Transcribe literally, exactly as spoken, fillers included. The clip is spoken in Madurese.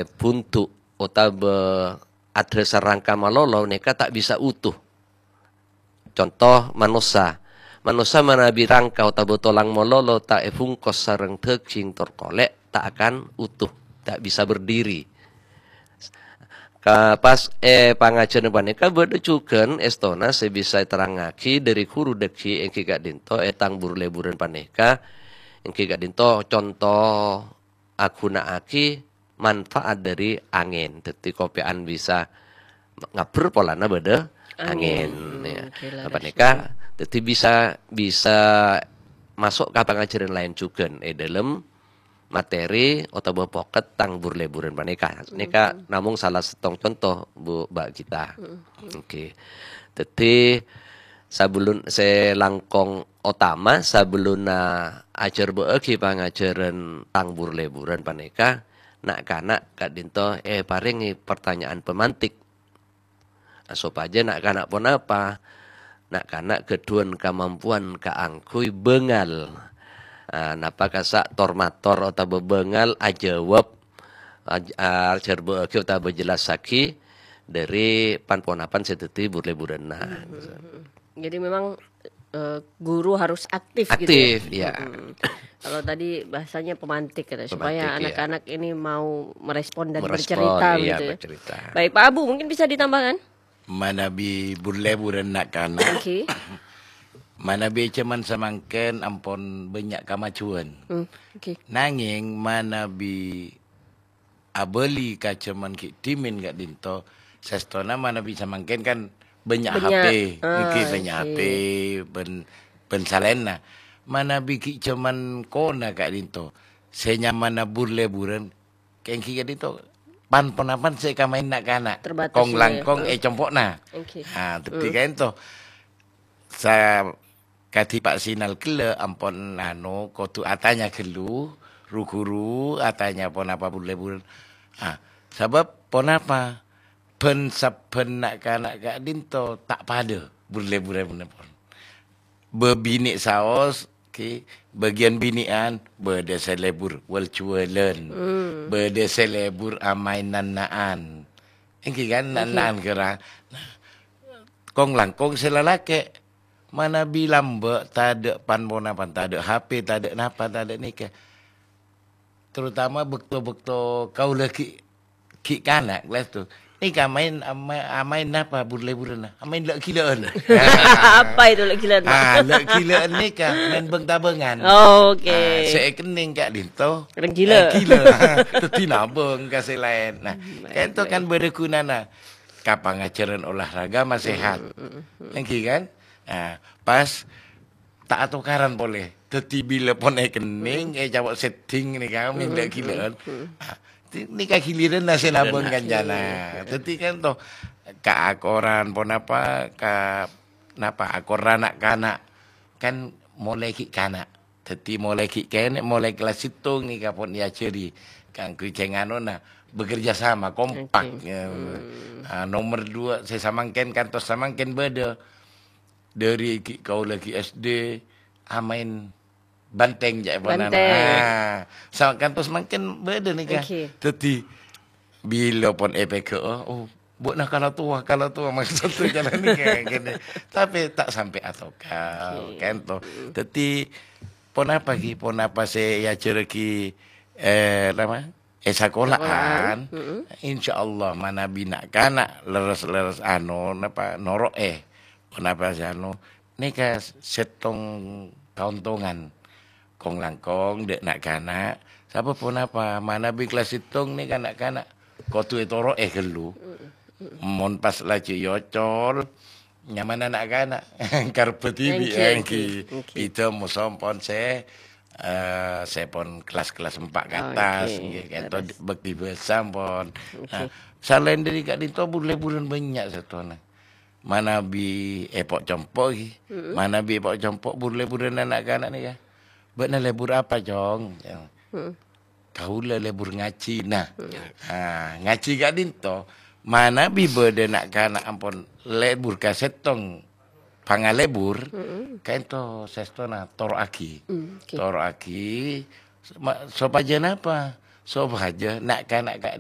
bhundu' otabâ adhâsar rangka malolo nèka ta' bisa utuh. Conto, manossa. Manossa manabi rangka otabâ tolang malolo ta' èbungkos sareng dhâghing tor kolè', ta' akan utuh, ta' bisa berdiri. Ka-, pas è pangajhârân panèka bâdâ jhughân èstona sè bisa èterrangngaghi dhâri ghuru dhâggi' èngghi ka'dinto è tang bur-lèburân panèka, èngghi ka'dinto conto aghuna'aghi manfaat dhâri angèn. Dhâddhi, kopèyan bisa ngabbher polana bâdâ angèn, Angèn. Hmm, ya. Oke, leres. Panèka, dhâddhi bisa, bisa maso' ka pangajhârân laèn jhughân è dhâlem materi otabâ pokèt tang bur-lèburân panèka. Nèka Hmm. namong sala sèttong conto, Bu, Mbak Gita. Hmm. Oke. Dhâddhi, sabellun sè langkong otama, sabellunna ajhârbâ'âghi pangajhârân tang bur-lèburân panèka, na'-kana' ka'dinto èparèngè partanya'an pemantik. Sopajâ na'-kana' ponapa? Na'-kana' ghâdhuwân kamampowan kaangghuy bângal. Ah, napa kassa' tor-mator otabâ bângal ajâwâb, aj-, ajhârbâ'âghi otabâ jellassaghi dhâri pan-ponapan sè dhâddhi bur-lèburânna. Hmm, hmm, hmm. Jadi memang, eh, guru harus aktif gitu ya? Aktif, iya. Hmm. Kalau tadi bahasanya pemantik gitu, supaya Pemantik, iya. anak-anak ini mau merespon dan Merespon, bercerita iya, gitu ya. bercerita. Baik, Pak Abu, mungkin bisa ditambahkan? Manabi bur-lèburân na'-kana'. Oke. Manabi jhâman samangkèn ampon bânnya' kamajuwân. Hmm, oke. Nangèng manabi abâli ka jhâman ghi' dhimèn ka'dinto, sèstona manabi samangkèn kan bânnya' Bânnya'. HP, Ah, ngghi bânnya' I see. HP bân, bân salaènna. Manabi ghi' jhâman kona ka'dinto, sè nyamana bur-lèburân, kèngghi ka'dinto pan-ponapan sè èkamaèn na'-kana'. Terbatas Kong-langkong ya. è compo'na. Oke. Ah, dhâddhi Hmm. kaènto. Sa-, kadhi Pak Sinal ghellâ' ampon, anu, kodhu atanya ghâllu, ru-ghuru atanya ponapa bur-lèburân. Ah, sabâb ponapa? Bân-sabbhân na'-kana' ka'dinto ta' padâ bur-lèburân pon. Bâbinè' saos, ghi, bâgiyân binè'an, bâdâ sè lèbur wal-juwâlân, Hmm. bâdâ sè lèbur amaèn nan-na'an. Èngghi kan, Èngghi. nan-na'an kèra. Nah, kong-langkong sè lalakè', manabi lambâ', tadâ' pan-ponapan, tadâ' HP, tadâ' napa, tadâ' nèka. Terutama bâkto-bâkto kaulâ ghi', ghi' kana', kelas tu. Nèka maèn, ama-, amaèn napa bur-lèburânna? Amaèn la'-ghilâ'ân. Apa itu la'-ghilâ'ân, Pak? Ah, la'-ghilâ'ân nèka maèn bâng-tabângan. Oh, oke. Ah, sè èkennèng ka'dinto. Rèng ghilâ'. Eh, ghilâ'. Dhâddhi nabâng ka sè laèn. Nah, Baik, kaènto kan baik. bâdâ ghunana. Ka pangajhârân olahraga ma' sehat. Mm, mm, mm. Èngghi kan? Nah, pas ta' atokaran polè. Dhâddhi bilâ pon èkennèng, Hmm. ècapo' setting nèka, Hmm, minta hmm, gilâ'ân. hmm. Ah, ti-, nèka giliranna sè nabâng Giliranna. kancana. Iya, iya. Dhâddhi kan to, kaakoran ponapa, ka-, napa, akor na'-kana'. Kan molaè ghi' kana'. Dhâddhi molaè ghi' kènè', molaè kelas sèttong nèka pon èajhâri. Kaangghuy jhâ' nganona, bekerja sama, kompak. Oke. Ya. Hmm. Ah, nomor dua, sè samangkèn kantos samangkèn bâdâ. Dhâri ghi' kaulâ ghi' S D, amaèn bantèng, ca'èpon Bantèng. Ah, sa-, kantos mangkèn bâdâ nèka. Oke. Dhâddhi, bilâ pon èpèghâ'â, oh, bâ'na kala towa, kala towa, maksod jalan nèka, gini. Tapè ta' sampè' atokar, Oke. kan, to. Mm. Dhâddhi, ponapa, ghi? Ponapa sè èajhârraghi, eh, napa? È sakola'an, Sakola'an, mm-mm. insyaallah manabi na'-kana' lerres-lerres anu, napa, noro'è. Ponapa sè anu, nèka sèttong kaontongan. Kong-langkong dâ' na'-kana', sabâb ponapa, manabi kelas sèttong nèka na'-kana' kodhu ètoro'è ghâllu. Mm-mm. Mon pas laju èocol, nyamana na'-kana', karebbhâ dhibi', Èngghi, èngghi. èngghi, èngghi. Bhidhâ moso pon sè, eh, sè pon kelas-kelas empat ke atas, Oke, èngghi, kento leres. bhâkti bhâsa pon. Oke. Nah, salaèn dhâri ka'dinto bur-lèburân bânnya' sèttona. Manabi èpo' compo', ghi. Mm-mm. Manabi èpo' compo' bur-lèburân na'-kana' nèka. "Bâ'na lèbur apa, Cong?" Mm-mm. "Kaulâ lèbur ngajhi." Nah, Hmm. ah, ngajhi ka'dinto, manabi bâdâ na'-kana' ampon lèbur ka sèttong pangalèbur, Mm-mm. kaènto sèstona toro'aghi. Mm, oke. Toro'aghi, ma-, sopajâ napa? Sopajâ na'-kana' ka'dinto